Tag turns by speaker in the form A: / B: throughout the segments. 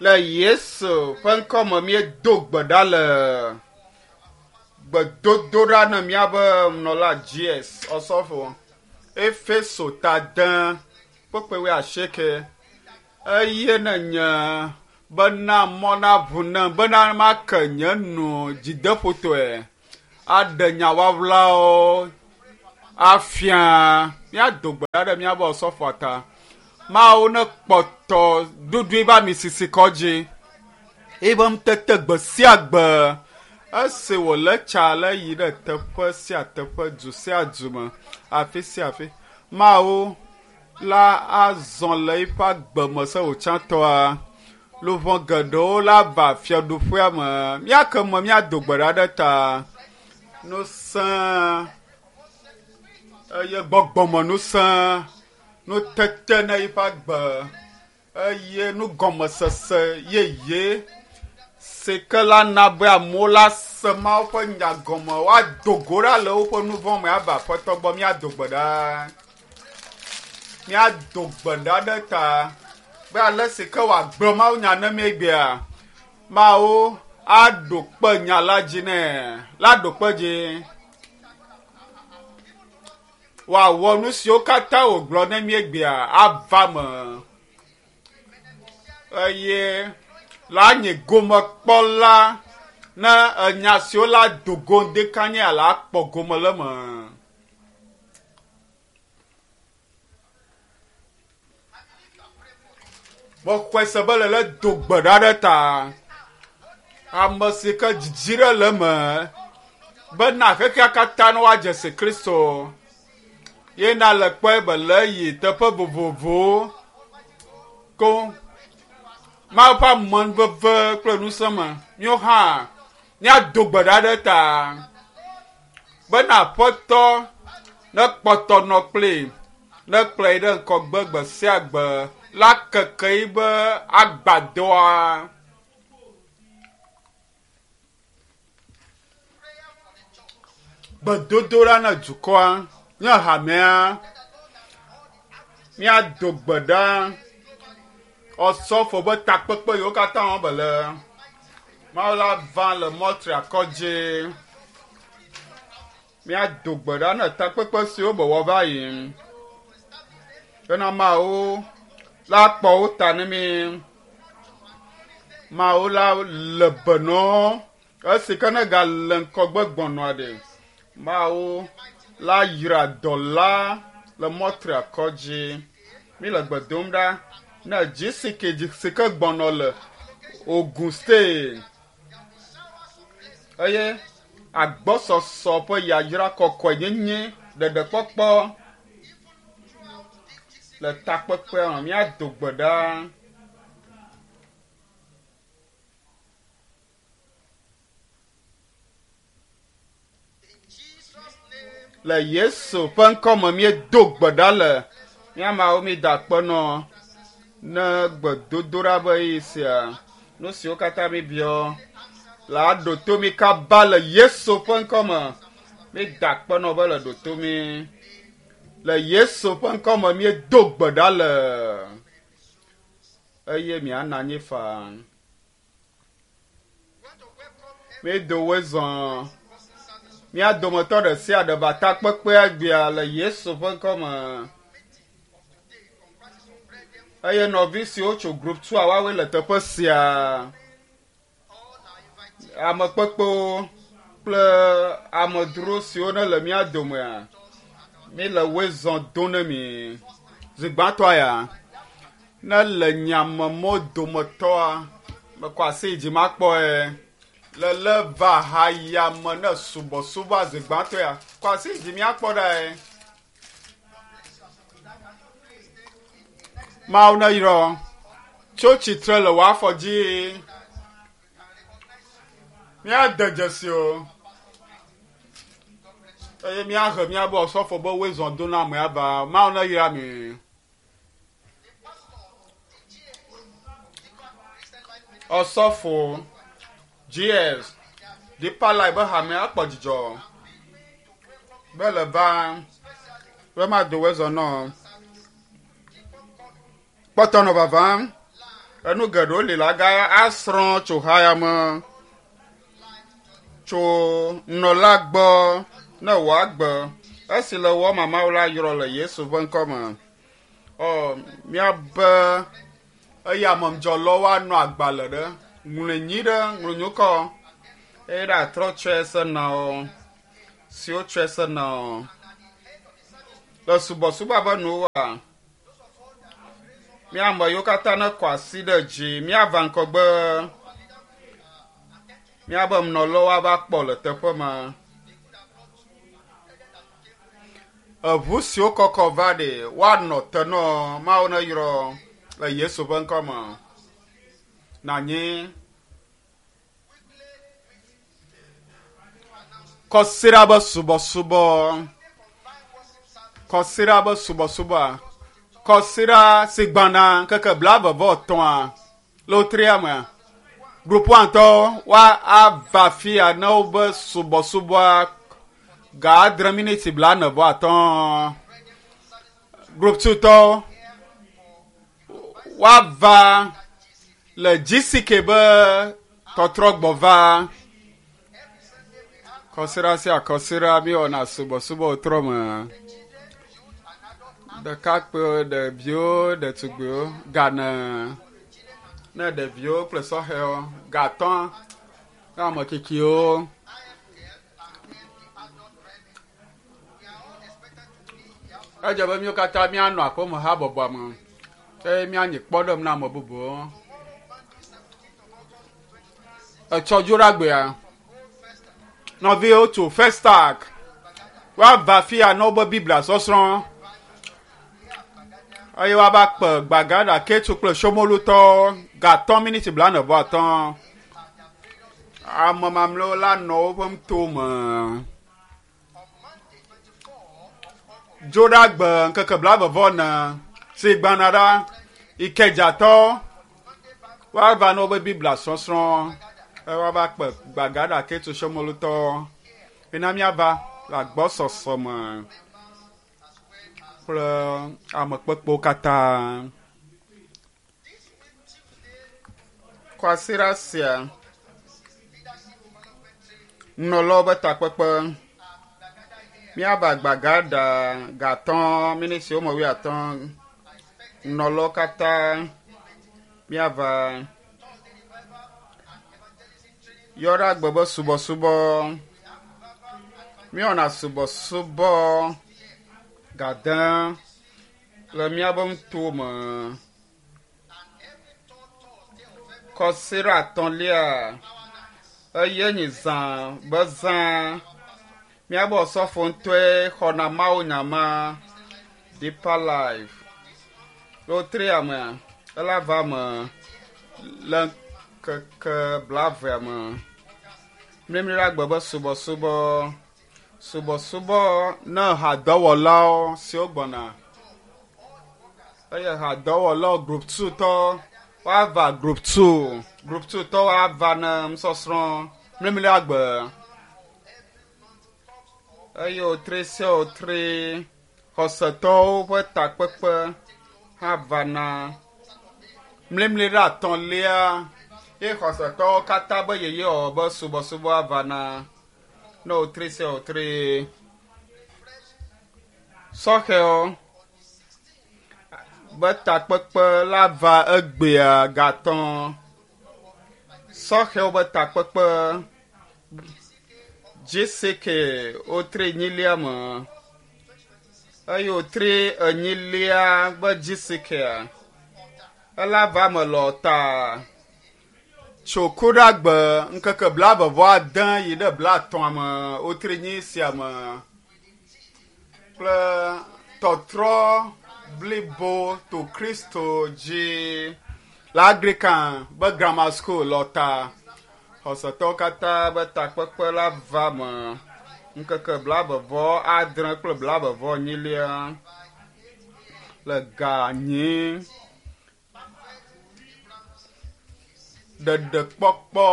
A: Le Yesu ƒe ŋkɔ me míedo gbe ɖa le gbedodoɖa ne míabe nunɔla GS Ɔsɔfo Efeso ta de kpukpui wuiasieke eye ne nye bena mɔ naʋu nem bena make nye nu dzideƒotɔe aɖe nya wawlawo afia. Míado gbe ɖa ɖe míabe ɔsɔfoa ta. Mawu ne kpɔtɔ ɖuɖui va mi sisi kɔ dzi. Ebe ŋutete gbe sia gbe esi wòle tsa le yi ɖe teƒe sia teƒe, du sia du me, afi sia afi. Mawu la azɔ le eƒe agbe me se wòtsãtɔa. Luʋɔ geɖewo la va fiaɖuƒea me. Míake me míado gbe ɖa ɖe ta. Nusẽ eye gbɔgbɔmenusẽ, nutete na eƒe agbe eye nugɔmesese yeye si ke la na be amewo la se Mawu ƒe nya gɔme woado go ɖa le woƒe nu vɔ̃ me ava Aƒetɔ gbɔ. Míado gbe ɖa. Míado gbe ɖa ɖe ta be ale si ke wòagblɔ Mawu nya ne mí egbea, Mawu aɖo kpe nya la dzi nɛ. La ɖo kpe dzi. Wòawɔ nu siwo katã wògblɔ ne mí egbea ava me. Eye la nye gomekpɔla ne enya siwo la do go ŋdekanye la akpɔ gome le eme. Mexɔe se be le le do gbe ɖa ɖe ta. Ame si ke dzidzi ɖe le eme bena xexea katã ne woadze si Kristo. Ye na le kpɔe be le yi teƒe vovovowo ko Mawu ƒe amenuveve kple ŋusẽ me. Míawo hã míado gbe ɖa ɖe ta bena Aƒetɔ nekpɔtɔ nɔ kpli nekplɔe ɖe ŋgɔgbe gbe sia gbe la keke yibe agbadɔa. Gbedodoɖa na dukɔa, nye hamea, míado gbe ɖa ɔsɔfo be takpekpe yiwo katã wɔm be le Mawu la va le mɔtriakɔ dzi. Míado gbe ɖa na takpekpe siwo be wɔ va yi bena Mawu la kpɔ wo ta ne mí. Mawu la le be nɔ esi ke ne gale ŋkɔgbe gbɔnɔa ɖe. Mawu la yra dɔla le mɔtriakɔ dzi. Mi le gbe dom ɖa ne GCK si ke gbɔnɔ le Ogun State eye agbɔsɔsɔ ƒe yayra kɔkɔenyenye ɖeɖekpɔkpɔ le takpekpea me. Míado gbe ɖa. Le Yesu ƒe ŋkɔ me míedo gbe ɖa le mía ameawo míeda akpe nɔ ne gbedodoɖa be ɣeyiɣi sia. Nu siwo katã míbiɔ la ɖo to mí kaba le Yesu ƒe ŋkɔ me. Míeda akpe nɔ be le ɖo to mí. Le Yesu ƒe ŋkɔ me míedo gbe ɖa le eye miana anyi faa. Míedo woe zɔ. Mía dometɔ ɖe sia ɖe va takpekpea egbea le Yesu ƒe ŋkɔ me. Eye nɔvi siwo tso group 2 woawoe le teƒe sia. Ame kpekpewo kple amedzro siwo ne le mía domea, mí le woe zɔ do ne mi. Zi gbãtɔa ya, ne le nyamemɔ dometɔa, mekɔ asi yi dzi makpɔe. Le le va haya me ne subɔsubɔa zi gbãtɔ ya, kɔ asi yi dzi míakpɔ ɖae. Mawu ne yrɔ tso tsitre le wò afɔ dzi. Míade dzesi o eye míahe míabe ɔsɔfo be woe zɔ do na amea va. Mawu ne yra mi. Ɔsɔfo GS Deeper Life be hamea akpɔ dzidzɔ be le va be mado woe zɔ nɔ. Kpɔtɔ nɔ vavam. Enu geɖewo li la ga asrɔ̃ tso ha ya me tso nɔla gbɔ ne wòagbe esi le wɔ mamawo la yrɔ le Yesu ƒe ŋkɔ me. Ɔ míabe eya memdzɔlɔwo anɔ agbalẽ ɖe ŋlɔe nyi ɖe ŋlɔ nyukɔ eye ɖe atrɔ tsɔe se na wo siwo tsɔe se na wo le subɔsubɔ abe nuwoa míame yiwo katã ne kɔ asi ɖe dzi míava ŋgɔgbe míabe nɔlawo ava kpɔ le teƒe ma. Eʋu siwo kɔkɔ va ɖe woanɔ te nɔ Mawu ne yrɔ le Yesu ƒe ŋkɔ me. Nanyi kɔsiɖa be subɔsubɔ kɔsiɖa be subɔsubɔa kɔsiɖa si gbana ŋkeke 23 le wotria mea group one tɔwo wa ava fia ne wobe subɔsubɔa ga 6 miniti 45. Group two tɔwo woava le GCK be tɔtrɔgbɔ va. Kɔsiɖa sia kɔsiɖa míewɔna subɔsubɔ trɔ me. Ɖekakpuiwo, ɖeviwo, ɖetugbiwo, gane ne ɖeviwo kple sɔhɛwo, gatɔ ne ame tsitsiwo. Edze be míwo katã míanɔ aƒeme habɔbɔa me eye míanyi kpɔɖeŋu na ame bubuwo. Etsɔ dzo ɖe agbea. Nɔviwo tso Festac woava fia na wobe Biblia sɔsrɔ̃ eye woava kpe Gbagada, Ketu kple Shomolutɔwo ga 3 miniti 45. Ame mamlɛwo la nɔ woƒe ŋutome. Dzo ɖe agbe ŋkeke 44 si gbana ɖa Ikedzatɔ woava na wobe Biblia sɔsrɔ̃ eye woava kpe Gbagada Ketu Shomolutɔwo. Mina míava le agbɔsɔsɔ me kple amekpekpewo katã. Kwasiɖa sia nunɔlawo be takpekpe míava Gbagada ga 5 miniti woame 50 nunɔlawo katã míava yɔ ɖe agbe be subɔsubɔ. Míewɔna subɔsubɔ ga 10 le míabe ŋutome. Kɔsiɖa etɔ̃lia eye nyi zã be zã. Míabe osɔfo ŋutɔe xɔna Mawu nya ma Deeper Life. Le wotria mea, ela va me le ŋkeke 20 me. Mlimli ɖe agbe be subɔsubɔ. Subɔsubɔ ne hadɔwɔlawo siwo gbɔna. Eye hadɔwɔlawo group 2 tɔ woava group 2. Group 2 tɔ woava ne nusɔsrɔ̃ mlimli ɖe agbe. Eye wotri sia wotri xɔsetɔwo ƒe takpekpe hã vana. Mlimli ɖe atɔ̃lia ye xɔsetɔwo katã be yeyewɔwɔ be subɔsubɔ vana ne wotri sia wotri. Sɔhɛwo be takpekpe la va egbea ga 5. Sɔhɛwo be takpekpe GCK wotri enyilia me eye wotri enyilia be GCK ela va me le ta tso ku ɖe agbe ŋkeke 29 yi ɖe 50 me wotri nyi sia me kple tɔtrɔ blibo to Kristo dzi le Anglican be Grammar School le ta. Xɔsetɔwo katã be takpekpe la va me ŋkeke 28 kple 44 le ga 4. Ɖeɖekpɔkpɔ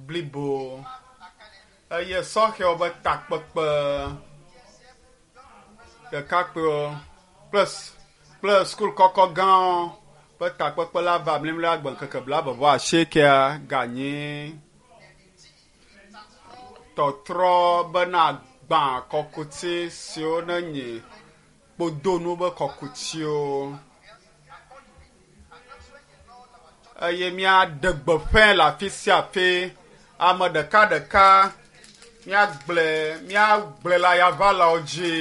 A: blibo eye sɔhɛwo be takpekpe ɖekakpuiwo kple sukulu kɔkɔ gãwo Ƒe takpekpe la va mlimli agbe ŋkeke 28 ganyi tɔtrɔ bena gbã kɔkuti siwo ne nyi kpodonu be kɔkutiwo eye míaɖe gbeƒãe le afi sia afi ame ɖekaɖeka míagblɔe míagblɔe le ayaʋalawo dzi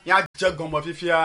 A: míadze gɔme fifia.